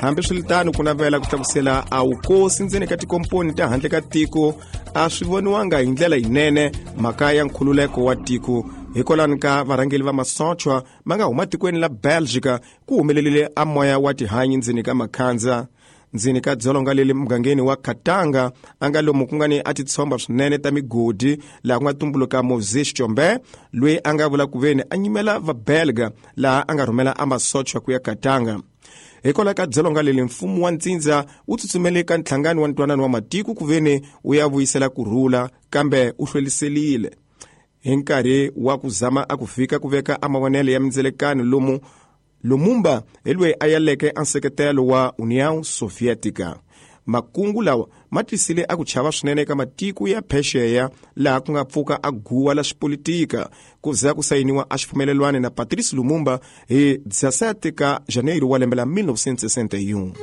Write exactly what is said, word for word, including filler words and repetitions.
Hambiswiritano, ku navela ku tlakusela a wukosi ndzeni ka tikomponi ta handle ka tiko a swi voniwanga hi ndlela yinene mhaka ya nkhululeko wa tiko. Hikwalani ka varhangeli va masochwa ma nga huma tikweni la Belgica, ku humelerile a moya wa tihanyi ndzeni ka makhandza. Ndzeni ka dzolonga leli mugangeni wa Katanga, a nga lomu ku nga ni a titshomba swinene ta migodi, laha ku nga tumbuluka Moise Tshombe, loyi a nga vula ku veni a nyimela vabelga, laha a nga rhumela a masochwa ku ya Katanga. Hikwalaho ka dzolonga leli, mfumo wa ntsindza wu tsutsumele ka nhlangano wa ntwanano wa matiko ku veni wu ya vuyisela kurhula, kambe wu hlweliselile. Hi nkarhi wa ku zama a ku fika ku veka a mavonelo ya mindzelekano lomu, Lumumba hi loyi a yaleke a nseketelo wa União Soviética. Makungu lawa ma tisile a ku chava swinene eka matiko ya phexeya, laha ku nga pfuka a guwa la xipolitika, ku za ku sayiniwa a xipfumelelwano na Patrice Lumumba hi dezesete ka Janeiro wa lembe la mil novecentos e sessenta e um.